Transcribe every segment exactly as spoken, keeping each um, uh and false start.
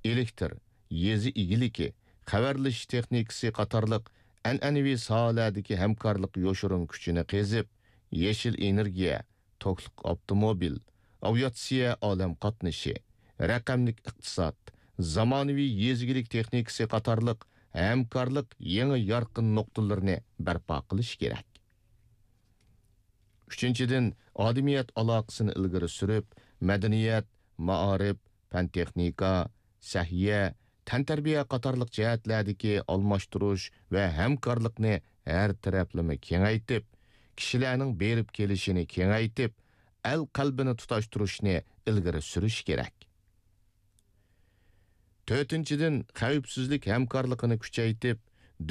ئېلېكتىر، يېزا ئىگىلىكى، خەۋەرلىشىش تېخنىكىسى قاتارلىق ئەنئەنىۋى ساھەلەردىكى ھەمكارلىق يوشۇرۇن كۈچىنى قېزىپ، يېشىل ئېنېرگىيە، توكلۇق ئاپتوموبىل، ئاۋىئاتسىيە ئالەم قاتنىشى، رەقەملىك ئىقتىساد، زامانىۋى يېزا ئىگىلىك تېخنىكىسى قاتارلىق ھەمكارلىق يېڭى يارقىن نۇقتىلىرىنى بەرپا قىلىش كېرەك. ئۈچىنچىدىن، ئادىمىيەت ئالاقىسىنى ئىلگىرى سۈرۈپ، مەدەنىيەت، مائارىپ، پەن-تېخنىكا، سەھىيە، تەنتەربىيە قاتارلىق جەھەتلەردىكى ئالماشتۇرۇش ۋە ھەمكارلىقنى ھەر تەرەپلىمە كېڭەيتىپ، كىشىلەرنىڭ بېرىپ كېلىشىنى كېڭەيتىپ، ئەل قەلبىنى تۇتاشتۇرۇشنى ئىلگىرى سۈرۈش كېرەك. تۆتىنچىدىن، خەۋپسىزلىك ھەمكارلىقىنى كۈچەيتىپ،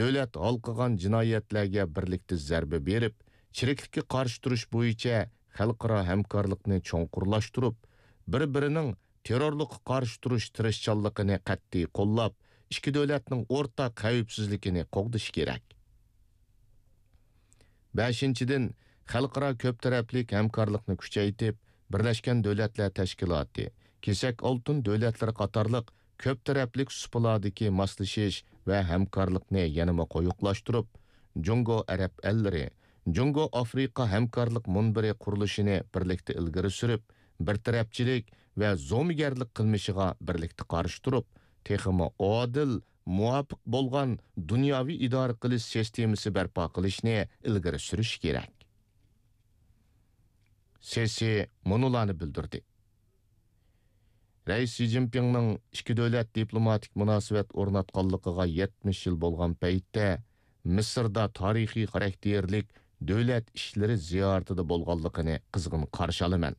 دۆلەت ھالقىغان جىنايەتلەرگە بىرلىكتە زەربە بېرىپ، چىرىكلىككە قارشى تۇرۇش بويىچە خەلقئارا ھەمكارلىقنى چوڭقۇرلاشتۇرۇپ، بىر-بىرىنىڭ تېررورلۇققا قارشى تۇرۇش تىرىشچانلىقىنى قەتئىي قوللاپ، ئىككى دۆلەتنىڭ ئورتاق خەۋپسىزلىكىنى قوغدىشى كېرەك. بەشىنچىدىن، خەلقئارا كۆپ تەرەپلىك ھەمكارلىقنى كۈچەيتىپ، بىرلەشكەن دۆلەتلەر تەشكىلاتى، كېسەك ئالتۇن دۆلەتلىرى قاتارلىق كۆپ تەرەپلىك سۇپىلاردىكى ماسلىشىش ۋە ھەمكارلىقنى يەنىمۇ قويۇقلاشتۇرۇپ، جۇڭگو ئەرەب ئەللىرى، جۇڭگو ئافرىقا ھەمكارلىق مۇنبىرى قۇرۇلۇشىنى بىرلىكتە ئىلگىرى سۈرۈپ، بىر تەرەپچىلىك ۋە زومىگەرلىك قىلمىشىغا بىرلىكتە قارشى تۇرۇپ، تېخىمۇ ئادىل، مۇۋاپىق بولغان دۇنياۋى ئىدارە قىلىش سىستېمىسى بەرپا قىلىشنى ئىلگىرى سۈرۈش كېرەك. سېسى مۇنۇلارنى بىلدۈردى. رەئىس شى جىنپىڭنىڭ ئىككى دۆلەت دىپلوماتىك مۇناسىۋەت ئورناتقانلىقىغا يەتمىش يىل بولغان پەيتتە، مىسىردا تارىخىي خاراكتېرلىك دۆلەت ئىشلىرى زىيارىتىدە بولغانلىقىنى قىزغىن قارشى ئالىمەن.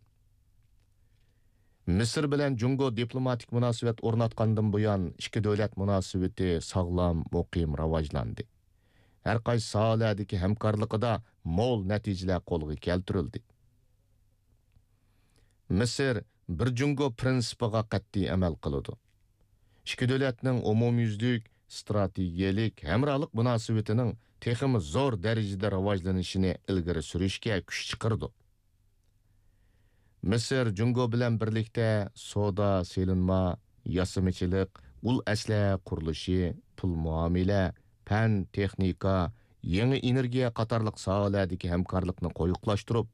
مىسىر بىلەن جۇڭگو دىپلوماتىك مۇناسىۋەت ئورناتقاندىن بۇيان، ئىككى دۆلەت مۇناسىۋىتى ساغلام، مۇقىم راۋاجلاندى. ھەر قايسى ساھەلەردىكى ھەمكارلىقىدا مول نەتىجىلەر قولغا كەلتۈرۈلدى. مىسىر بىر جۇڭگو پىرىنسىپىغا قەتئىي ئەمەل قىلىدۇ. ئىككى دۆلەتنىڭ ئومۇميۈزلۈك ئىستراتېگىيەلىك ھەمراھلىق مۇناسىۋىتىنىڭ تېخىمۇ زور دەرىجىدە راۋاجلىنىشىنى ئىلگىرى سۈرۈشكە كۈچ چىقىرىدۇ. مىسىر جۇڭگو بىلەن بىرلىكتە سودا، سېلىنما، ياسىمىچىلىق، ئۇل ئەسلىھە قۇرۇلۇشى، پۇل مۇئامىلە، پەن، تېخنىكا، يېڭى ئېنېرگىيە قاتارلىق ساھەلەردىكى ھەمكارلىقنى قويۇقلاشتۇرۇپ،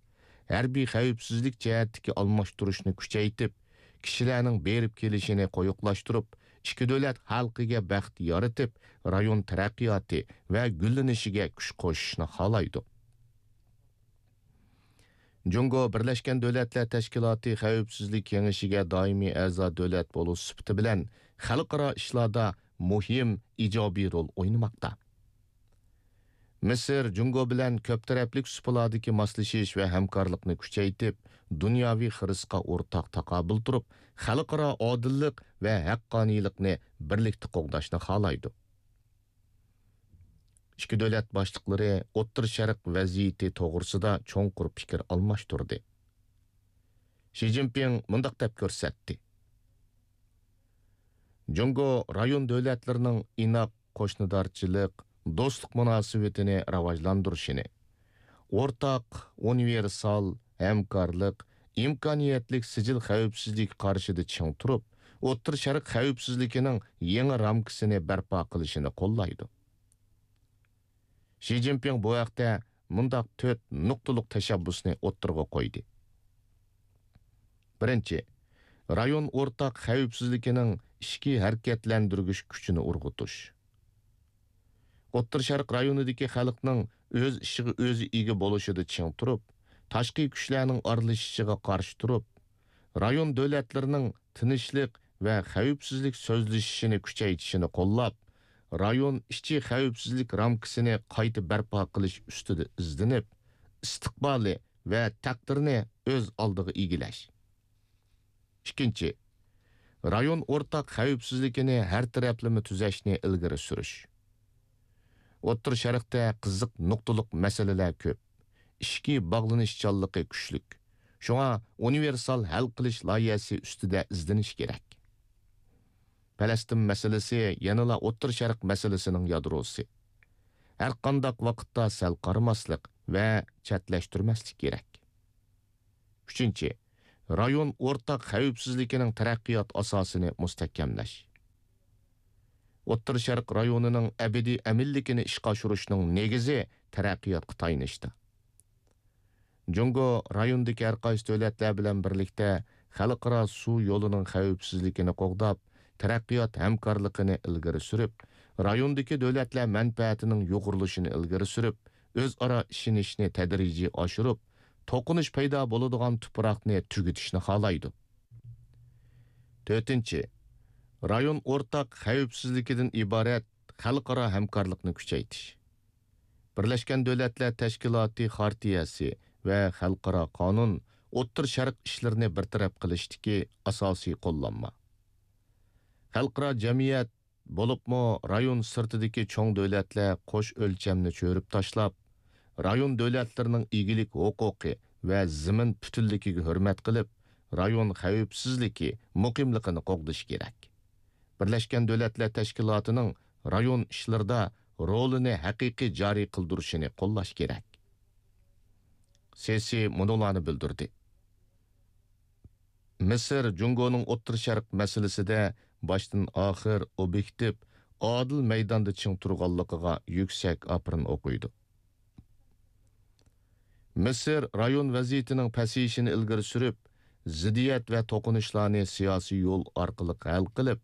ھەربىي خەۋپسىزلىك جەھەتتىكى ئالماشتۇرۇشنى كۈچەيتىپ، كىشىلەرنىڭ بېرىپ كېلىشىنى قويۇقلاشتۇرۇپ، ئىككى دۆلەت خەلقىگە بەخت يارىتىپ، رايون تەرەققىياتى ۋە گۈللىنىشىگە كۈچ قوشۇشنى خالايدۇ. جۇڭگو بىرلەشكەن دۆلەتلەر تەشكىلاتى خەۋپسىزلىك كېڭىشىگە دائىمىي ئەزا دۆلەت بولۇش سۈپىتى بىلەن خەلقئارا ئىشلاردا مۇھىم ئىجابىي رول ئوينىماقتا. مىسىر جۇڭگو بىلەن كۆپ تەرەپلىك سۇپىلاردىكى ماسلىشىش ۋە ھەمكارلىقنى كۈچەيتىپ، دۇنياۋى خىرىسقا ئورتاق تاقابىل تۇرۇپ، خەلقئارا ئادىللىق ۋە ھەققانىيلىقنى بىرلىكتە قوغداشنى خالايدۇ. ئىككى دۆلەت باشلىقلىرى ئوتتۇرا شەرق ۋەزىيىتى توغرىسىدا چوڭقۇر پىكىر ئالماشتۇردى. شى جىنپىڭ مۇنداق دەپ كۆرسەتتى: جۇڭگو رايون دۆلەتلىرىنىڭ ئىناق قوشنىدارچىلىق، دوستلۇق مۇناسىۋىتىنى راۋاجلاندۇرۇشىنى، ئورتاق، ئۇنىۋېرسال، ھەمكارلىق، ئىمكانىيەتلىك سىجىل خەۋپسىزلىكى قارىشىدا چىڭ تۇرۇپ، ئوتتۇرا شەرق خەۋپسىزلىكىنىڭ يېڭى رامكىسىنى بەرپا قىلىشىنى قوللايدۇ. شى جىنپىڭ بۇ ھەقتە مۇنداق تۆت نۇقتىلىق تەشەببۇسنى ئوتتۇرىغا قويدى. بىرىنچى، رايون ئورتاق خەۋپسىزلىكىنىڭ ئىچكى ھەرىكەتلەندۈرگۈچ كۈچىنى ئۇرغۇتۇش. ئوتتۇرا شەرق رايونىدىكى خەلقنىڭ ئۆز ئىشىغا ئۆزى ئىگە بولۇشىدا چىڭ تۇرۇپ، تاشقى كۈچلەرنىڭ ئارىلىشىشىغا قارشى تۇرۇپ، رايون دۆلەتلىرىنىڭ تىنچلىق ۋە خەۋپسىزلىك سۆزلىشىشىنى كۈچەيتىشىنى قوللاپ، رايون ئىچى خەۋپسىزلىك رامكىسىنى قايتا بەرپا قىلىش ئۈستىدە ئىزدىنىپ، ئىستىقبالى ۋە تەقدىرىنى ئۆز ئالدىغا ئىگىلەش. ئىككىنچى، رايون ئورتاق خەۋپسىزلىكىنى ھەر تەرەپلىمە تۈزەشنى ئىلگىرى سۈرۈش. ئوتتۇرا شەرقتە قىزىق نۇقتىلىق مەسىلىلەر كۆپ، ئىچكى باغلىنىشچانلىقى كۈچلۈك. شۇڭا ئۇنىۋېرسال ھەل قىلىش لايىھەسى ئۈستىدە ئىزدىنىش كېرەك. پەلەستىن مەسىلىسى يەنىلا ئوتتۇرا شەرق مەسىلىسىنىڭ يادروسى. ھەرقانداق ۋاقىتتا سەل قارىماسلىق ۋە چەتلەشتۈرمەسلىك كېرەك. ئۈچىنچى، رايون ئورتاق خەۋپسىزلىكىنىڭ تەرەققىيات ئاساسىنى مۇستەھكەملەش. ئوتتۇرا شەرق رايونىنىڭ ئەبەدىي ئەمىنلىكىنى ئىشقا ئاشۇرۇشنىڭ نېگىزى تەرەققىياتقا تايىنىشتا. جۇڭگو رايوندىكى ھەرقايسى دۆلەتلەر بىلەن بىرلىكتە خەلقئارا سۇ يولىنىڭ خەۋپسىزلىكىنى قوغداپ، تەرەققىيات ھەمكارلىقىنى ئىلگىرى سۈرۈپ، رايوندىكى دۆلەتلەر مەنپەئەتىنىڭ يۇغۇرۇلۇشىنى ئىلگىرى سۈرۈپ، ئۆزئارا ئىشىنىشنى تەدرىجىي ئاشۇرۇپ، توقۇنۇش پەيدا بولىدىغان تۇپراقنى تۈگىتىشنى خالايدۇ. تۆتىنچى، رايون ئورتاق خەۋپسىزلىكىدىن ئىبارەت خەلقئارا ھەمكارلىقنى كۈچەيتىش. بىرلەشكەن دۆلەتلەر تەشكىلاتى خارتىيەسى ۋە خەلقئارا قانۇن ئوتتۇرا شەرق ئىشلىرىنى بىر تەرەپ قىلىشتىكى ئاساسىي قوللانما. خەلقئارا جەمئىيەت، بولۇپمۇ رايون سىرتىدىكى چوڭ دۆلەتلەر قوش ئۆلچەمنى چۆرۈپ تاشلاپ، رايون دۆلەتلىرىنىڭ ئىگىلىك ھوقۇقى ۋە زېمىن پۈتۈنلۈكىگە ھۆرمەت قىلىپ، رايون خەۋپسىزلىكى، مۇقىملىقىنى قوغدىشى كېرەك. بىرلەشكەن دۆلەتلەر تەشكىلاتىنىڭ رايون ئىشلىرىدا رولىنى ھەقىقىي جارى قىلدۇرۇشىنى قوللاش كېرەك. سېسى مۇنۇلارنى بىلدۈردى. مىسىر جۇڭگونىڭ ئوتتۇرا شەرق مەسىلىسىدە باشتىن ئاخىر ئوبيېكتىپ، ئادىل مەيداندا چىڭ تۇرغانلىقىغا يۈكسەك ئاپىرىن ئوقۇيدۇ. مىسىر رايون ۋەزىيىتىنىڭ پەسىيىشىنى ئىلگىرى سۈرۈپ، زىددىيەت ۋە توقۇنۇشلارنى سىياسىي يول ئارقىلىق ھەل قىلىپ،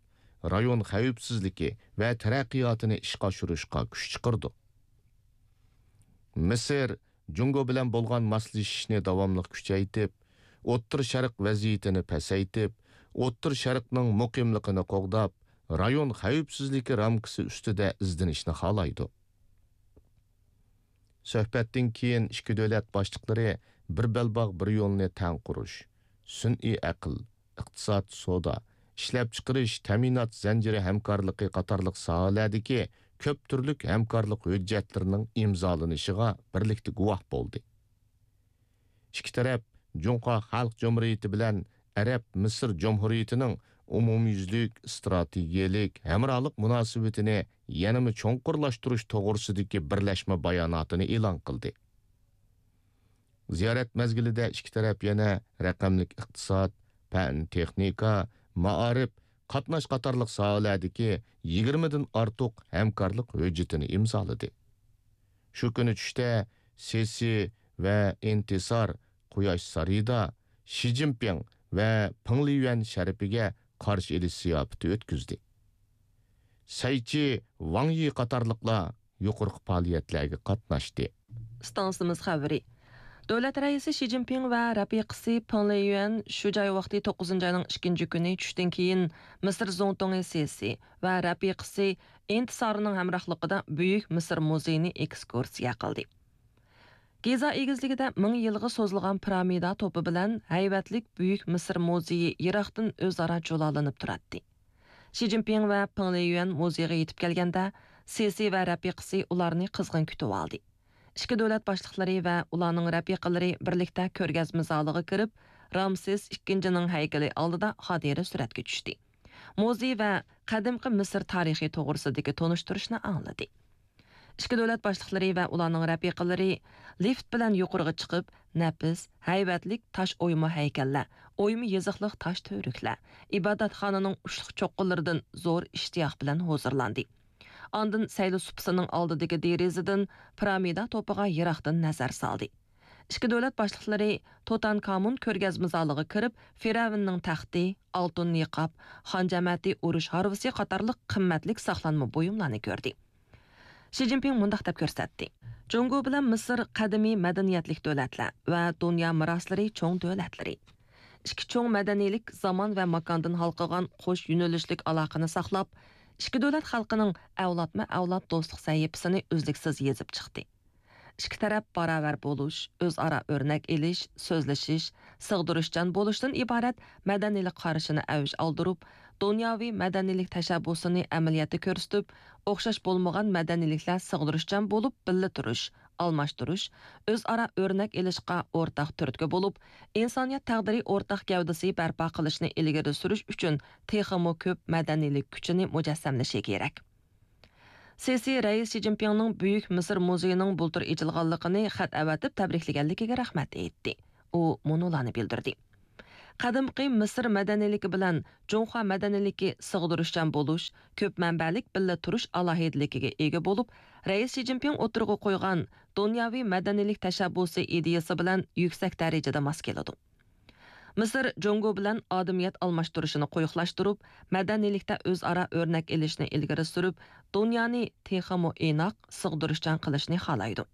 رايون خەۋپسىزلىكى ۋە تەرەققىياتىنى ئىشقا ئاشۇرۇشقا كۈچ چىقىرىدۇ. مىسىر جۇڭگو بىلەن بولغان ماسلىشىشنى داۋاملىق كۈچەيتىپ، ئوتتۇرا شەرق ۋەزىيىتىنى پەسەيتىپ، ئوتتۇرا شەرقنىڭ مۇقىملىقىنى قوغداپ، رايون خەۋپسىزلىكى رامكىسى ئۈستىدە ئىزدىنىشنى خالايدۇ. سۆھبەتتىن كېيىن ئىككى دۆلەت باشلىقلىرى بىر بەلباغ، بىر يولنى تەڭ قۇرۇش، سۈنئىي ئەقىل، ئىقتىساد، سودا، ئىشلەپچىقىرىش، تەمىنات زەنجىرى ھەمكارلىقى قاتارلىق ساھەلەردىكى كۆپ تۈرلۈك ھەمكارلىق ھۆججەتلىرىنىڭ ئىمزالىنىشىغا بىرلىكتە گۇۋاھ بولدى. ئىككى تەرەپ جۇڭخۇا خەلق جۇمھۇرىيىتى بىلەن ئەرەب مىسىر جۇمھۇرىيىتىنىڭ ئومۇميۈزلۈك ئىستراتېگىيەلىك ھەمراھلىق مۇناسىۋىتىنى يەنىمۇ چوڭقۇرلاشتۇرۇش توغرىسىدىكى بىرلەشمە باياناتىنى ئېلان قىلدى. زىيارەت مەزگىلىدە ئىككى تەرەپ يەنە رەقەملىك ئىقتىساد، پەن، تېخنىكا، مائارىپ، قاتناش قاتارلىق ساھەلەردىكى يىگىرمىدىن ئارتۇق ھەمكارلىق ھۆججىتىنى ئىمزالىدى. شۇ كۈنى چۈشتە سېسى ۋە ئىنتىسار قۇياش سارىيىدا شى جىنپىڭ ۋە پېڭ لىيۈەن شەرىپىگە قارشى ئېلىش زىياپىتى ئۆتكۈزدى. سەيچى، ۋاڭ يى قاتارلىقلار يۇقىرىقى پائالىيەتلەرگە قاتناشتى. ئىستانسىمىز خەۋىرى. دۆلەت رەئىسى شى جىنپىڭ ۋە رەپىقىسى پېڭ لىيۈەن شۇ جاي ۋاقتى توققۇزىنچى ئاينىڭ ئىككىنچى كۈنى چۈشتىن كېيىن مىسىر زۇڭتۇڭى سېسى ۋە رەپىقىسى ئىنتىسارنىڭ ھەمراھلىقىدا بۈيۈك مىسىر مۇزېيىنى ئېكسكۇرسىيە قىلدى. گىزا ئېگىزلىكىدە مىڭ يىلغا سوزۇلغان پىرامىدا توپى بىلەن ھەيۋەتلىك بۈيۈك مىسىر مۇزېيى يىراقتىن ئۆزئارا جۇلالىنىپ تۇراتتى. شى جىنپىڭ ۋە پېڭ لىيۈەن مۇزېيغا يېتىپ كەلگەندە، سېسى ۋە رەپىقىسى ئۇلارنى قىزغىن كۈتۈۋالدى. ئىككى دۆلەت باشلىقلىرى ۋە ئۇلارنىڭ رەپىقىلىرى بىرلىكتە كۆرگەزمە زالىغا كىرىپ، رامسېس ئىككىنچىنىڭ ھەيكىلى ئالدىدا خاتىرە سۈرەتكە چۈشتى. مۇزېي ۋە قەدىمكى مىسىر تارىخى توغرىسىدىكى تونۇشتۇرۇشنى ئاڭلىدى. ئىككى دۆلەت باشلىقلىرى ۋە ئۇلارنىڭ رەپىقىلىرى لىفت بىلەن يۇقىرىغا چىقىپ، نەپىس، ھەيۋەتلىك تاش ئويما ھەيكەللەر، ئويما يېزىقلىق تاش تۈۋرۈكلەر، ئىبادەتخانىنىڭ ئۇچلۇق چوققىلىرىدىن زور ئىشتىياق بىلەن ھۇزۇرلاندى. ئاندىن سەيلە سۇپىسىنىڭ ئالدىدىكى دېرىزىدىن پىرامىدا توپىغا يىراقتىن نەزەر سالدى. ئىككى دۆلەت باشلىقلىرى توتانكامون كۆرگەزمە زالىغا كىرىپ، فىرئەۋننىڭ تەختى، ئالتۇن نىقاب، خان جەمەتى ئۇرۇش ھارۋىسى قاتارلىق قىممەتلىك ساقلانما بۇيۇملارنى كۆردى. شى جىنپىڭ مۇنداق دەپ كۆرسەتتى: جۇڭگو بىلەن مىسىر قەدىمىي مەدەنىيەتلىك دۆلەتلەر ۋە دۇنيا مىراسلىرى چوڭ دۆلەتلىرى. ئىككى چوڭ مەدەنىيلىك زامان ۋە ماكاندىن ھالقىغان قوش يۆنىلىشلىك ئالاقىنى ساقلاپ، ئىككى دۆلەت خەلقىنىڭ ئەۋلادمۇ ئەۋلاد دوستلۇق سەھىپىسىنى ئۈزلۈكسىز يېزىپ چىقتى. ئىككى تەرەپ باراۋەر بولۇش، ئۆزئارا ئۆرنەك ئېلىش، سۆزلىشىش، سىغدۇرۇشچان بولۇشتىن ئىبارەت مەدەنىيلىك قارىشىنى ئەۋج ئالدۇرۇپ، دۇنياۋى مەدەنىيلىك تەشەببۇسىنى ئەمەلىيەتتە كۆرسىتىپ، ئوخشاش بولمىغان مەدەنىيلىكلەر سىغدۇرۇشچان بولۇپ بىللە تۇرۇش، ئالماشتۇرۇش، ئۆزئارا ئۆرنەك ئېلىشقا ئورتاق تۈرتكە بولۇپ، ئىنسانىيەت تەقدىرى ئورتاق گەۋدىسى بەرپا قىلىشنى ئىلگىرى سۈرۈش ئۈچۈن تېخىمۇ كۆپ مەدەنىيلىك كۈچىنى مۇجەسسەملىشى كېرەك. سىسى رەئىس شى جىنپىڭنىڭ بۈيۈك مىسىر مۇزېيىنىڭ بۇلتۇر ئېچىلغانلىقىنى خەت ئەۋەتىپ تەبرىكلىگەنلىكىگە رەھمەت ئېيتتى. ئۇ مۇنۇلارنى بىلدۈردى: قەدىمكى مىسىر مەدەنىيلىكى بىلەن جۇڭخۇا مەدەنىيلىكى سىغدۇرۇشچان بولۇش، كۆپ مەنبەلىك بىللە تۇرۇش ئالاھىدىلىكىگە ئىگە بولۇپ، رەئىس شى جىنپىڭ ئوتتۇرىغا قويغان دۇنياۋى مەدەنىيلىك تەشەببۇسى ئىدىيىسى بىلەن يۈكسەك دەرىجىدە ماس كېلىدۇ. مىسىر جۇڭگو بىلەن ئادىمىيەت ئالماشتۇرۇشىنى قويۇقلاشتۇرۇپ، مەدەنىيلىكتە ئۆزئارا ئۆرنەك ئېلىشنى ئىلگىرى سۈرۈپ، دۇنيانى تېخىمۇ ئىناق، سىغدۇرۇشچان قىلىشنى خالايدۇ.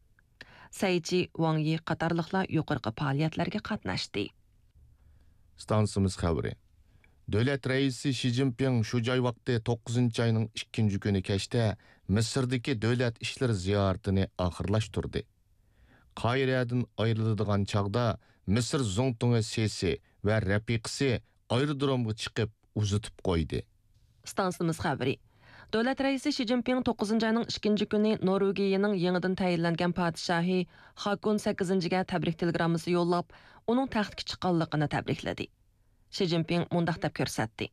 سەيچى، ۋاڭ يى قاتارلىقلار يۇقىرىقى پائالىيەتلەرگە قاتناشتى. ئىستانسىمىز خەۋىرى. دۆلەت رەئىسى شى جىنپىڭ شۇ جاي ۋاقتى توققۇزىنچى ئاينىڭ ئىككىنچى كۈنى كەچتە مىسىردىكى دۆلەت ئىشلىرى زىيارىتىنى ئاخىرلاشتۇردى. قاھىرەدىن ئايرىلىدىغان چاغدا مىسىر زۇڭتۇڭى سېسى ۋە رەپىقىسى ئايرودرومغا چىقىپ ئۇزىتىپ قويدى. ئىستانسىمىز خەۋىرى. دۆلەت رەئىسى شى جىنپىڭ توققۇزىنچى ئاينىڭ ئىككىنچى كۈنى نورۋېگىيىنىڭ يېڭىدىن تەيىنلەنگەن پادىشاھى خاكون سەككىزىنچىگە تەبرىك تېلېگراممىسى يوللاپ، ئۇنىڭ تەختكە چىققانلىقىنى تەبرىكلىدى. شى جىنپىڭ مۇنداق دەپ كۆرسەتتى: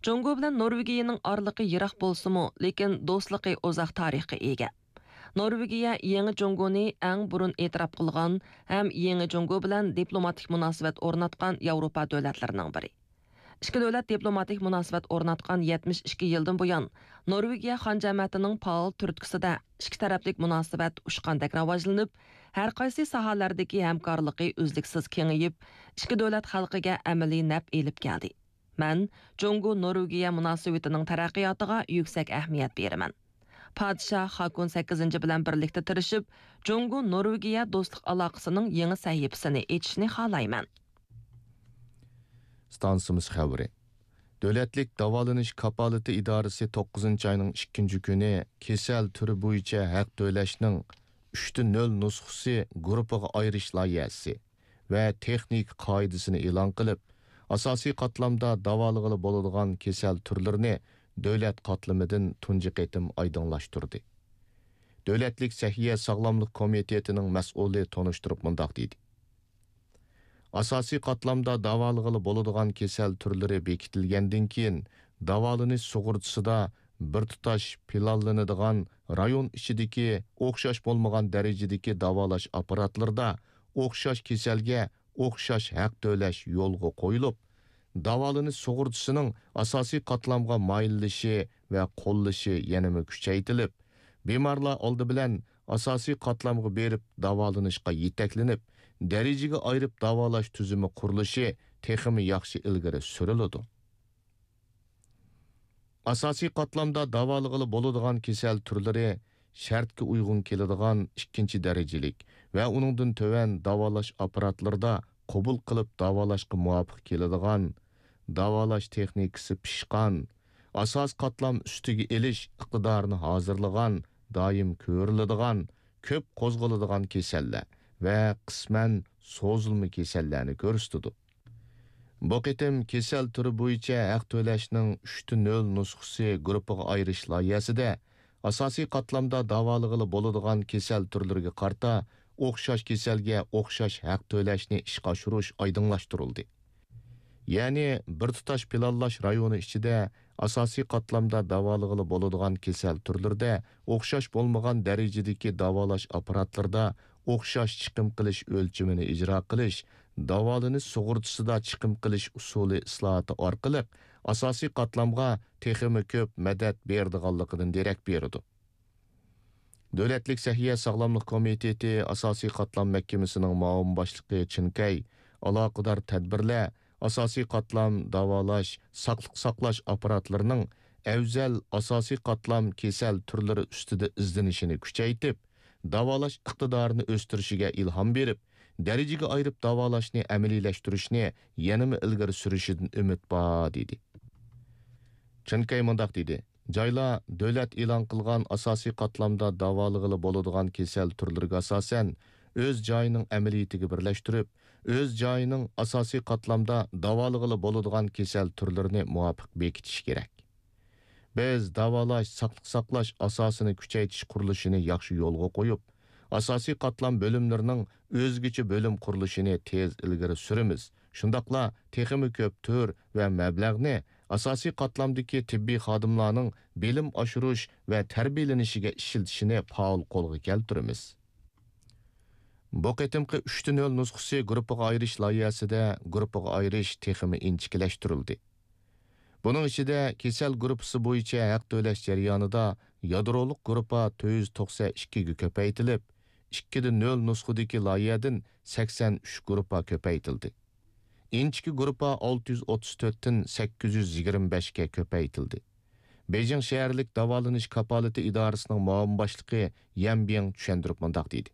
جۇڭگو بىلەن نورۋېگىيەنىڭ ئارىلىقى يىراق بولسىمۇ، لېكىن دوستلۇقى ئۇزاق تارىخقا ئىگە. نورۋېگىيە يېڭى جۇڭگونى ئەڭ بۇرۇن ئېتىراپ قىلغان ھەم يېڭى جۇڭگو بىلەن دىپلوماتىك مۇناسىۋەت ئورناتقان ياۋروپا دۆلەتلىرىنىڭ بىرى. ئىككى دۆلەت دىپلوماتىك مۇناسىۋەت ئورناتقان يەتمىش ئىككى يىلدىن بۇيان، نورۋېگىيە خان جەمەتىنىڭ پائال تۈرتكىسىدە ئىككى تەرەپلىك مۇناسىۋەت ئۇچقاندەك راۋاجلىنىپ، ھەر قايسى ساھەلەردىكى ھەمكارلىقى ئۈزلۈكسىز كېڭىيىپ، ئىككى دۆلەت خەلقىگە ئەمەلىي نەپ ئېلىپ كەلدى. مەن جۇڭگو نورۋېگىيە مۇناسىۋىتىنىڭ تەرەققىياتىغا يۈكسەك ئەھمىيەت بېرىمەن. پادىشاھ خاكون سەككىزىنچى بىلەن بىرلىكتە تىرىشىپ، جۇڭگو نورۋېگىيە دوستلۇق ئالاقىسىنىڭ يېڭى سەھىپىسىنى ئېچىشنى خالايمەن. ئىستانسىمىز خەۋىرى. دۆلەتلىك داۋالىنىش كاپالىتى ئىدارىسى توققۇزىنچى ئاينىڭ ئىككىنچى كۈنى كېسەل تۈرى بويىچە ھەق تۆلەشنىڭ ئۈچتە نۆل نۇسخىسى گۇرۇپپىغا ئايرىش لايىھەسى ۋە تېخنىكا قائىدىسىنى ئېلان قىلىپ، ئاساسىي قاتلامدا داۋالىغىلى بولىدىغان كېسەل تۈرلىرىنى دۆلەت قاتلىمىدىن تۇنجى قېتىم ئايدىڭلاشتۇردى. دۆلەتلىك سەھىيە ساغلاملىق كومىتېتىنىڭ مەسئۇلى تونۇشتۇرۇپ مۇنداق دېدى: ئاساسىي قاتلامدا داۋالىغىلى بولىدىغان كېسەل تۈرلىرى بېكىتىلگەندىن كېيىن، داۋالىنىش سۇغۇرتىسىدا بىر تۇتاش پىلانلىنىدىغان رايون ئىچىدىكى ئوخشاش بولمىغان دەرىجىدىكى داۋالاش ئاپپاراتلىرىدا ئوخشاش كېسەلگە ئوخشاش ھەق تۆلەش يولغا قويۇلۇپ، داۋالىنىش سۇغۇرتىسىنىڭ ئاساسىي قاتلامغا مايىللىشى ۋە قوللىشى يەنىمۇ كۈچەيتىلىپ، بىمارلار ئالدى بىلەن ئاساسىي قاتلامغا بېرىپ داۋالىنىشقا يېتەكلىنىپ، دەرىجىگە ئايرىپ داۋالاش تۈزۈمى قۇرۇلۇشى تېخىمۇ ياخشى ئىلگىرى سۈرۈلىدۇ. ئاساسىي قاتلامدا داۋالىغىلى بولىدىغان كېسەل تۈرلىرى شەرتكە ئۇيغۇن كېلىدىغان ئىككىنچى دەرىجىلىك ۋە ئۇنىڭدىن تۆۋەن داۋالاش ئاپپاراتلىرىدا قوبۇل قىلىپ داۋالاشقا مۇۋاپىق كېلىدىغان، داۋالاش تېخنىكىسى پىشقان، ئاساسىي قاتلام ئۈستىگە ئېلىش ئىقتىدارىنى ھازىرلىغان، دائىم كۆرۈلىدىغان، كۆپ قوزغىلىدىغان كېسەللەر ۋە قىسمەن سوزۇلما كېسەللەرنى كۆرسىتىدۇ. بۇ قېتىم كېسەل تۈرى بويىچە ھەق تۆلەشنىڭ ئۈچتە نۆل نۇسخىسى گۇرۇپپىغا ئايرىش لايىھەسىدە ئاساسىي قاتلامدا داۋالىغىلى بولىدىغان كېسەل تۈرلىرىگە قارىتا ئوخشاش كېسەلگە ئوخشاش ھەق تۆلەشنى ئىشقا ئاشۇرۇش ئايدىڭلاشتۇرۇلدى. يەنى بىر تۇتاش پىلانلاش رايونى ئىچىدە ئاساسىي قاتلامدا داۋالىغىلى بولىدىغان كېسەل تۈرلىرىدە ئوخشاش بولمىغان دەرىجىدىكى داۋالاش ئاپپاراتلىرىدا ئوخشاش چىقىم قىلىش ئۆلچىمىنى ئىجرا قىلىش، داۋالىنىش سۇغۇرتىسىدا چىقىم قىلىش ئۇسۇلى ئىسلاھاتى ئارقىلىق ئاساسىي قاتلامغا تېخىمۇ كۆپ مەدەت بېرىدىغانلىقىدىن دېرەك بېرىدۇ. دۆلەتلىك سەھىيە ساغلاملىق كومىتېتى ئاساسىي قاتلام مەھكىمىسىنىڭ مۇئاۋىن باشلىقى چىن كەي ئالاقىدار تەدبىرلەر ئاساسىي قاتلام داۋالاش، ساقلىق ساقلاش ئاپپاراتلىرىنىڭ ئەۋزەل ئاساسىي قاتلام كېسەل تۈرلىرى ئۈستىدە ئىزدىنىشىنى كۈچەيتىپ، داۋالاش ئىقتىدارىنى ئۆستۈرۈشىگە ئىلھام بېرىپ، دەرىجىگە ئايرىپ داۋالاشنى ئەمەلىيلەشتۈرۈشنى يەنىمۇ ئىلگىرى سۈرۈشىدىن ئۈمىد بار، دېدى. چىن كەي مۇنداق دېدى: جايلار دۆلەت ئېلان قىلغان ئاساسىي قاتلامدا داۋالىغىلى بولىدىغان كېسەل تۈرلىرىگە ئاساسەن، ئۆز جايىنىڭ ئەمەلىيىتىگە بىرلەشتۈرۈپ، ئۆز جايىنىڭ ئاساسىي قاتلامدا داۋالىغىلى بولىدىغان كېسەل تۈرلىرىنى مۇۋاپىق بېكىتىشى كېرەك. بىز داۋالاش، ساقلىق ساقلاش ئاساسىنى كۈچەيتىش قۇرۇلۇشىنى ياخشى يولغا قويۇپ، ئاساسىي قاتلام بۆلۈملىرىنىڭ ئۆزگىچە بۆلۈم قۇرۇلۇشىنى تېز ئىلگىرى سۈرىمىز. شۇنداقلا تېخىمۇ كۆپ تۈر ۋە مەبلەغنى ئاساسىي قاتلامدىكى تېببىي خادىملارنىڭ بىلىم ئاشۇرۇش ۋە تەربىيەلىنىشىگە ئىشلىتىشىنى پائال قولغا كەلتۈرىمىز. بۇ قېتىمقى ئۈچتە نۆل نۇسخىسى گۇرۇپپىغا ئايرىش لايىھەسىدە گۇرۇپپىغا ئايرىش تېخىمۇ ئىنچىكىلەشتۈرۈلدى. بۇنىڭ ئىچىدە كېسەل گۇرۇپپىسى بويىچە ھەق تۆلەش جەريانىدا يادرولۇق گۇرۇپپا تۆت يۈز توقسەن ئىككىگە كۆپەيتىلىپ، ئىككىدە نۆل نۇسخىدىكى لايىھەدىن سەكسەن ئۈچ گۇرۇپپا كۆپەيتىلدى. ئىنچىكە گۇرۇپپا ئالتە يۈز ئوتتۇز تۆتتىن سەككىز يۈز يىگىرمە بەشكە كۆپەيتىلدى. بېيجىڭ شەھەرلىك داۋالىنىش كاپالىتى ئىدارىسىنىڭ مۇئاۋىن باشلىقى يەن بىڭ چۈشەندۈرۈپ مۇنداق دېدى: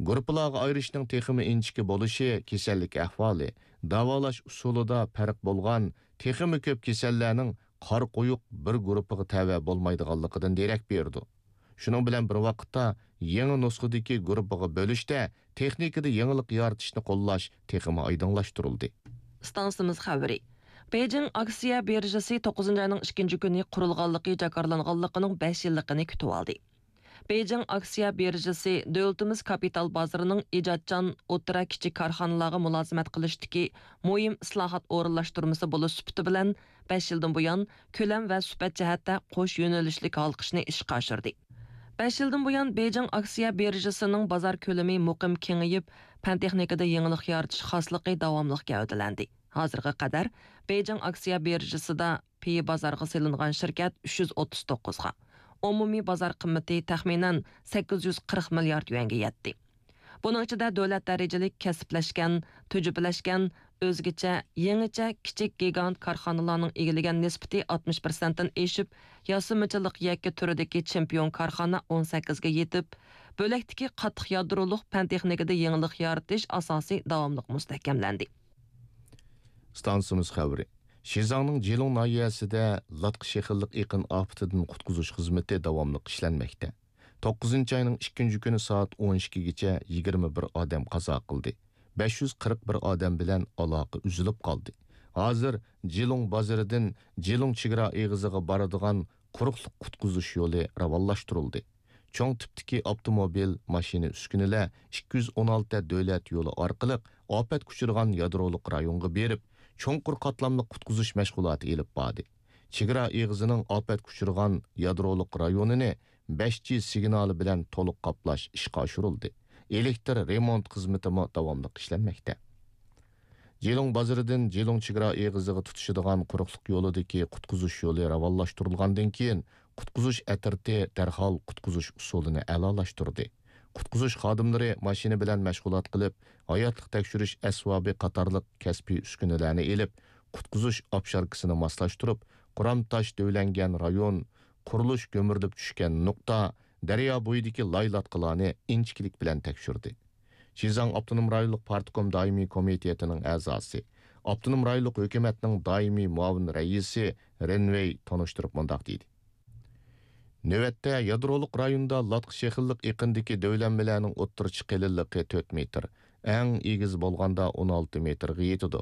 گۇرۇپپىلارغا ئايرىشنىڭ تېخىمۇ ئىنچىكە بولۇشى كېسەللىك ئەھۋالى، داۋالاش ئۇسۇلىدا پەرق بولغان تېخىمۇ كۆپ كېسەللەرنىڭ قارا قويۇق بىر گۇرۇپپىغا تەۋە بولمايدىغانلىقىدىن دېرەك بېرىدۇ. شۇنىڭ بىلەن بىر ۋاقىتتا، يېڭى نۇسخىدىكى گۇرۇپپىغا بۆلۈشتە تېخنىكىدا يېڭىلىق يارىتىشنى قوللاش تېخىمۇ ئايدىڭلاشتۇرۇلدى. ئىستانسىمىز خەۋىرى. بېيجىڭ ئاكسىيە بىرژىسى توققۇزىنچى ئاينىڭ ئىككىنچى كۈنى قۇرۇلغانلىقى جاكارلانغانلىقىنىڭ بەش يىللىقىنى كۈتۈۋالدى. بېيجىڭ ئاكسىيە بىرژىسى دۆلىتىمىز كاپىتال بازىرىنىڭ ئىجادچان ئوتتۇرا، كىچىك كارخانىلارغا مۇلازىمەت قىلىشتىكى مۇھىم ئىسلاھات ئورۇنلاشتۇرمىسى بولۇش سۈپىتى بىلەن، بەش يىلدىن بۇيان كۆلەم ۋە سۈپەت جەھەتتە قوش يۆنىلىشلىك ھالقىشنى ئىشقا ئاشۇردى. بەش يىلدىن بۇيان بېيجىڭ ئاكسىيە بىرژىسىنىڭ بازار كۆلىمى مۇقىم كېڭىيىپ، پەن تېخنىكىدا يېڭىلىق يارىتىش خاسلىقى داۋاملىق گەۋدىلەندى. ھازىرغا قەدەر بېيجىڭ ئاكسىيە بىرژىسىدا پېيى بازارغا سېلىنغان شىركەت ئۈچ يۈز ئوتتۇز توققۇزغا، ئومۇمىي بازار قىممىتى تەخمىنەن سەككىز يۈز قىرىق مىليارد يۈەنگە يەتتى. بۇنىڭ ئىچىدە دۆلەت دەرىجىلىك كەسىپلەشكەن، تۈجۈپىلەشكەن، ئۆزگىچە، يېڭىچە، كىچىك گىگانت كارخانىلارنىڭ ئىگىلىگەن نىسبىتى ئاتمىش پىرسەنتتىن ئېشىپ، ياسىمىچىلىق يەككە تۈرىدىكى چېمپىيون كارخانا ئون سەككىزگە يېتىپ، بۆلەكتىكى قاتتىق يادرولۇق پەن تېخنىكىدا يېڭىلىق يارىتىش ئاساسى داۋاملىق مۇستەھكەملەندى. ئىستانسىمىز خەۋىرى. شىزاڭنىڭ جىلۇڭ ناھىيەسىدە لاتقا شېخىللىق ئېقىن ئاپىتىدىن قۇتقۇزۇش خىزمىتى داۋاملىق ئىشلەنمەكتە. توققۇزىنچى ئاينىڭ ئىككىنچى كۈنى سائەت ئون ئىككىگىچە يىگىرمە بىر ئادەم قازا قىلدى. بەش يۈز قىرىق بىر ئادەم بىلەن ئالاقە ئۈزۈلۈپ قالدى. ھازىر جىلۇڭ بازىرىدىن جىلۇڭ چېگرا ئېغىزىغا بارىدىغان قۇرۇقلۇق قۇتقۇزۇش يولى راۋانلاشتۇرۇلدى. چوڭ تىپتىكى ئاپتوموبىل، ماشىنا، ئۈسكۈنىلەر ئىككى يۈز ئون ئالتە دۆلەت يولى ئارقىلىق ئاپەت ئۇچرىغان يادرولۇق رايونغا بېرىپ، چوڭقۇر قاتلاملىق قۇتقۇزۇش مەشغۇلاتى ئېلىپ باردى. چېگرا ئېغىزىنىڭ ئاپەتكە ئۇچرىغان يادرولۇق رايونىنى بەش جى سىگنالى بىلەن تولۇق قاپلاش ئىشقا ئاشۇرۇلدى. ئېلېكتر رېمونت خىزمىتىمۇ داۋاملىق ئىشلەنمەكتە. جىلۇڭ بازىرىدىن جىلۇڭ چېگرا ئېغىزىغا تۇتىشىدىغان قۇرۇقلۇق يولىدىكى قۇتقۇزۇش يولى راۋانلاشتۇرۇلغاندىن كېيىن، قۇتقۇزۇش ئەترىتى دەرھال قۇتقۇزۇش ئۇسۇلىنى ئەلالاشتۇردى. قۇتقۇزۇش خادىملىرى ماشىنا بىلەن مەشغۇلات قىلىپ، ھاياتلىق تەكشۈرۈش ئەسۋابى قاتارلىق كەسپىي ئۈسكۈنىلەرنى ئېلىپ، قۇتقۇزۇش ئاپشاركىسىنى ماسلاشتۇرۇپ، قۇرام تاش دۆۋىلەنگەن رايون، قۇرۇلۇش گۈمۈرۈلۈپ چۈشكەن نۇقتا، دەريا بويىدىكى لاي-لاتقىلارنى ئىنچىكىلىك بىلەن تەكشۈردى. شىزاڭ ئاپتونوم رايونلۇق پارتكوم دائىمىي كومىتېتىنىڭ ئەزاسى، ئاپتونوم رايونلۇق ھۆكۈمەتنىڭ دائىمىي مۇئاۋىن رەئىسى رېن ۋېي تونۇشتۇرۇپ مۇنداق دېدى: نۆۋەتتە يادرولۇق رايوندا لاتقا شېخىللىق ئېقىندىكى دۆۋىلەنمىلەرنىڭ ئوتتۇرىچە قېلىنلىقى تۆت مېتىر، ئەڭ ئېگىز بولغاندا ئون ئالتە مېتىرغا يېتىدۇ.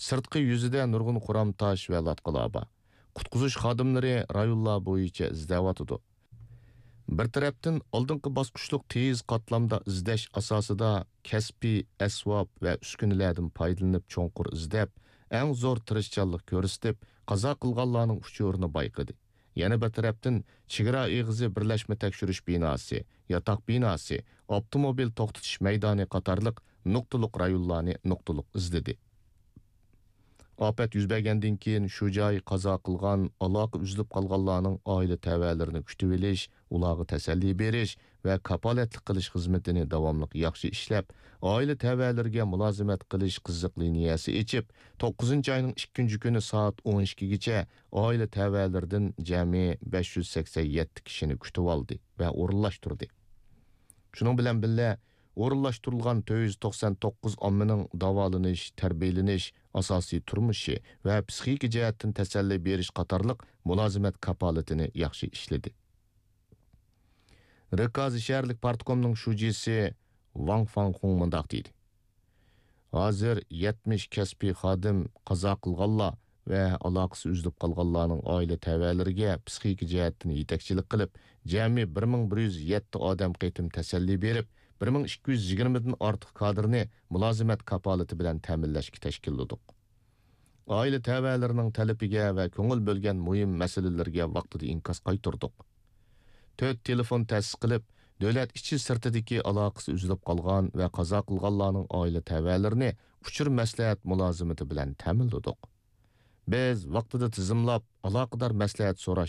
سىرتقى يۈزىدە نۇرغۇن قۇرام تاش ۋە لاتقىلار بار. قۇتقۇزۇش خادىملىرى رايونلار بويىچە ئىزدەۋاتىدۇ. بىر تەرەپتىن، ئالدىنقى باسقۇچلۇق تېيىز قاتلامدا ئىزدەش ئاساسىدا كەسپىي ئەسۋاب ۋە ئۈسكۈنىلەردىن پايدىلىنىپ چوڭقۇر ئىزدەپ، ئەڭ زور تىرىشچانلىق كۆرسىتىپ، قازا قىلغانلارنىڭ ئۇچۇرىنى بايقىدى. يەنە بىر تەرەپتىن، چېگرا ئېغىزى بىرلەشمە تەكشۈرۈش بىناسى، ياتاق بىناسى، ئاپتوموبىل توختىتىش مەيدانى قاتارلىق نۇقتىلىق رايونلارنى نۇقتىلىق ئىزدىدى. ئاپەت يۈز بەرگەندىن كېيىن، شۇ جاي قازا قىلغان، ئالاقە ئۈزۈلۈپ قالغانلارنىڭ ئائىلە تەۋەلىرىنى كۈتۈۋېلىش، ئۇلارغا تەسەللى بېرىش ۋە كاپالەتلىك قىلىش خىزمىتىنى داۋاملىق ياخشى ئىشلەپ، ئائىلە تەۋەلىرىگە مۇلازىمەت قىلىش قىزىق لىنىيەسى ئېچىپ، توققۇزىنچى ئاينىڭ ئىككىنچى كۈنى سائەت ئون ئىككىگىچە ئائىلە تەۋەلىرىدىن جەمئىي بەش يۈز سەكسەن يەتتە كىشىنى كۈتۈۋالدى ۋە ئورۇنلاشتۇردى. شۇنىڭ بىلەن بىللە، ئورۇنلاشتۇرۇلغان تۆت يۈز توقسان توققۇز ئاممىنىڭ داۋالىنىش، تەربىيەلىنىش، ئاساسىي تۇرمۇشى ۋە پسىخىكا جەھەتتىن تەسەللى بېرىش قاتارلىق مۇلازىمەت كاپالىتىنى ياخشى ئىشلىدى. رىكازى شەھەرلىك پارتكومنىڭ شۇجىسى ۋاڭ فاڭخۇڭ مۇنداق دېدى: ھازىر يەتمىش كەسپىي خادىم قازا قىلغانلار ۋە ئالاقىسى ئۈزۈلۈپ قالغانلارنىڭ ئائىلە تەۋەلىرىگە پسىخىكا جەھەتتىن يېتەكچىلىك قىلىپ، جەمئىي بىر مىڭ بىر يۈز يەتتە ئادەم قېتىم تەسەللى بېرىپ، بىر مىڭ ئىككى يۈز يىگىرمىدىن ئارتۇق كادىرنى مۇلازىمەت كاپالىتى بىلەن تەمىنلەشكە تەشكىللىدۇق. ئائىلە تەۋەلىرىنىڭ تەلىپىگە ۋە كۆڭۈل بۆلگەن مۇھىم مەسىلىلىرىگە ۋاقتىدا ئىنكاس قايتۇردۇق. تۆت تېلېفون تەسىس قىلىپ، دۆلەت ئىچى سىرتىدىكى ئالاقىسى ئۈزۈلۈپ قالغان ۋە قازا قىلغانلارنىڭ ئائىلە تەۋەلىرىنى ئۇچۇر مەسلىھەت مۇلازىمىتى بىلەن تەمىنلىدۇق. بىز ۋاقتىدا تىزىملاپ، ئالاقىدار مەسلىھەت سوراش